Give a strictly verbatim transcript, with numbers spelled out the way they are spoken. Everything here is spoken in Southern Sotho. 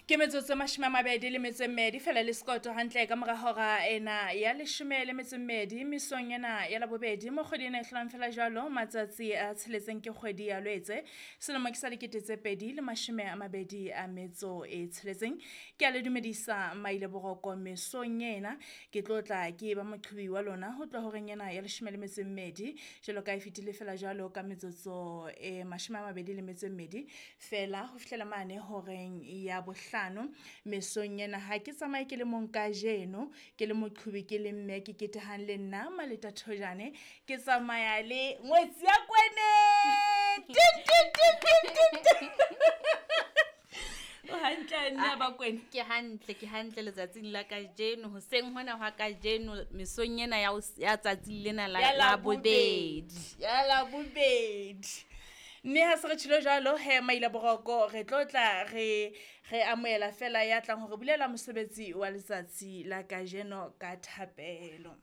Ke metsotso e mashome a mabedi le metso e mmedi fela le sekoto hantle ka mora hora ena ya leshome le metso e mmedi mesong ena ya Labobedi mo kgwedi ena e hlolang fela jwalo matsatsi a tsheletseng ke kgwedi ya Lwetse selemo ke sa dikete tse pedi le mashome a mabedi a metso e tsheletseng. Ke a le dumedisa maile boroko mesong ena ke tlo tla ke ba moqhubi wa lona ho tloha horeng ena ya leshome le metso e mmedi jwalo ka e fetile fela jwalo ka metsotso e mashome a mabedi le metso e mmedi fela ho fihlela mane horeng ya bohlano mesong ena. Ha ke tsamaye ke le mong kajeno, ke le moqhubi ke le mme ke ketehang le nna Maleta Thojane, ke tsamaya le ngwetsi ya Kweneng. Tin, tin, tin, tin, tin, tin. O hantle nna ba Kwene? Ke hantle, ke hantle letsatsing la kajeno, hoseng hona hwa kajeno, mesong ena ya hos-, ya tsatsi lena la Ya Labobedi. Ya Labobedi. Mme ha se re tjhelo jwalo he maile boroko re tlo tla re, re amohela fela ya tlang hore bulela mosebetsi wa letsatsi la kajeno ka thapelo.